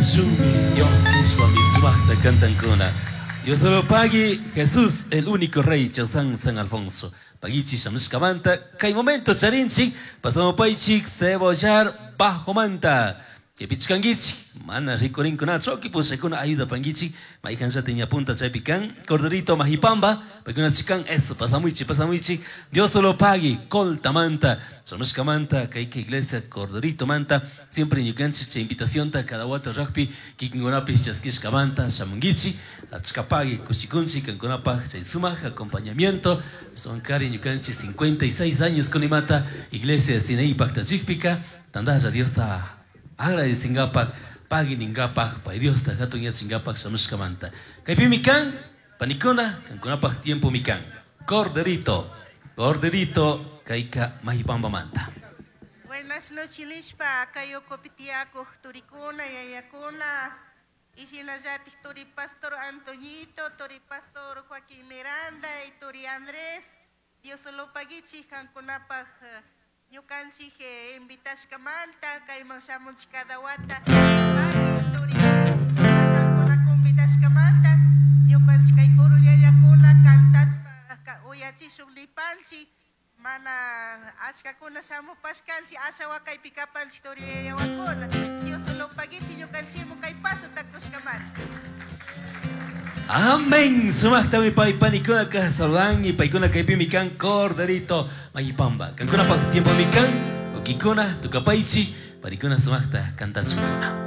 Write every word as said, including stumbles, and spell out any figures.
Cantashunmi Dios nishpami sumaqta cantankuna. Dios lo pague, Jesús, el único rey, Chausan San Alfonso. Paguichi shamushkamanta, kay momento charinchik, pasamos paichik, cebollar, bajo manta. Kipichkankichik, mana rikurinkunachu, okipushakuna ayuda pankichik, maykanllata ñapunta chaypi kan, Corderito Majipamba, paykuna chikan, eso, pasamuichi, pasamuichi, Dios lo pague, coltamanta, shamushkamanta, kayka iglesia, Corderito manta, siempre ñukanchik chay invitacionta cada wata rugby, kikinkunapis chaskishkamanta, shamunkichik, achkapagui, kushikunchik, kankunapaj chay sumaq acompañamiento, sonkari ñukanchik cincuenta y seis años kunimata, iglesia Sinaí paktachikpika, tandalla Diosta agradecingapaj, paguiningapaj, pay Diosta hatun yachingapaj shamushkamanta. Kaypimi kan, panikuna, kankunapaj tiempo mi kan. Corderito, Corderito, kayka Majipambamanta. Buenas noches, nishpa, kayoko turikuna, yayakuna, y shinallatik turi pastor Antoñito, turi pastor Joaquín Miranda y turi Andrés. Dios lo paguichi, kankunapaj ñukanchik invitashkamanta, kayman shamunchik cada wata. Turi kankuna convidashkamanta, ñukanchik kay kuru yayakuna kantashpa uyachishun lipanchik, mana achkakuna shamupashkanchik, asha wakaypi kapanchik turi yayawakuna. Dios lo paguichi ñukanchikmu kay paso takushkamanta. Amén. Sumaqtami pay panikuna ka saludan y paykuna kaypimi kan Corderito Majipamba. Kankuna pa tiempo mi kan, ukikuna tukapaychi, panikuna sumaqta kantachukuna.